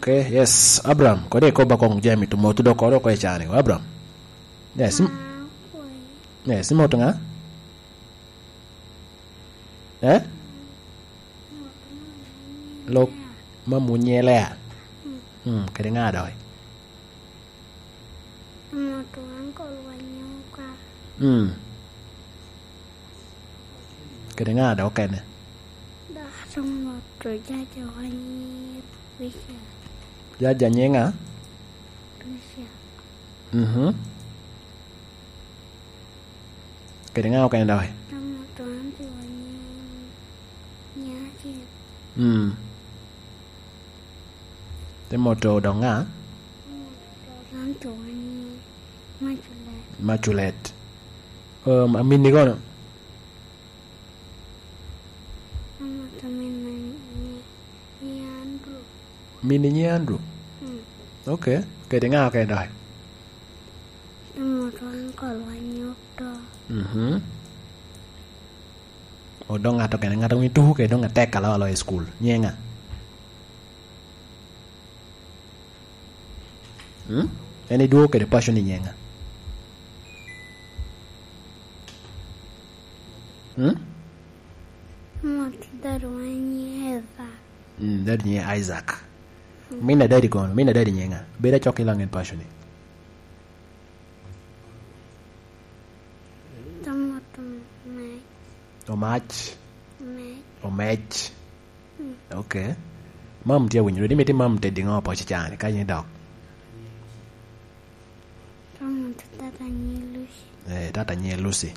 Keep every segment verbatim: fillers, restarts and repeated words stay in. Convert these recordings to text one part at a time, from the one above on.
Okay, yes, Abraham, kodi ikoba kong jami to motu dok koro ko icani, Abraham. Yes, im-, yes, imoto nga? Eh? Lok ma munyelea. Hmm, kadi nga doy. Amoto uncle wa nyoka. Hmm. Kadi nga doy okene? Dok amoto jaja wa nyi Richard. Jaja nyi nga? Richard. Mhm. Kadi nga okene doy? Amoto aunty wa nyi, nyi acel. Mm. Te moto dok nga? Amoto aunty wa nyi Maculet. Maculet. Um, aminni kono? Amoto min nyi, nyi Andrew. Mini nyi Andrew? Mm. Okay. Kadi nga okene doy? Amoto uncle wa nyoto. Mhm. O dong ngat okene, ngat a winy tuko kede dong atek alo alo i school. Nye nga? Hmm? En idwogo kede paco ni nye nga? Hmm? Amoto dad wa nyi Eva. Mm, dad nyi Isaac. Min a dadi kono, min a dadi nye nga? Bed acok i laŋet paco ni. Amoto Mac. Omac. Mac. Omec. Mm. Okay. Mam tye awinyo, dodi miti mam teddi ŋo poci cani, ka yin idok? Amoto tata nyi Lucy. Eh, tata nyi Lucy.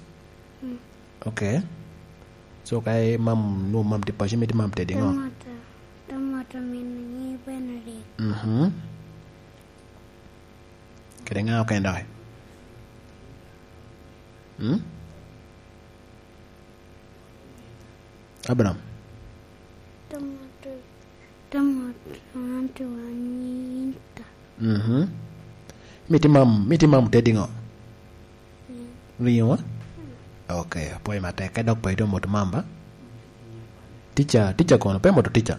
Mm. Okay. So, ka i mam, nu mam tye paco, miti mam teddi ŋo? Amoto, amoto min nyi Benedict. Mhm. Kede ŋa okene doki? Hmm? Abraham? Tomato, tomato, tomato, anita. Mhm. Miti mam, miti mam teddi ŋo? Ringo? Ringo, eh? Okay, apwoyo matek. Ka dok pe ite omoto mam ba? Tica, tica kono, pe moto tica?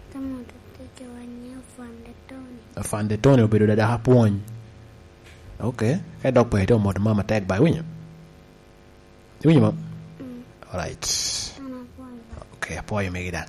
Tomato tica wa nyi Afande Tony. Afande Tony obedo dada apwony. Okay, ka dok pe ite omoto mam atek ba, iwinyo? Iwinyo mam? Mm. Alright. An apwoyo. Okay, apwoyo megi da.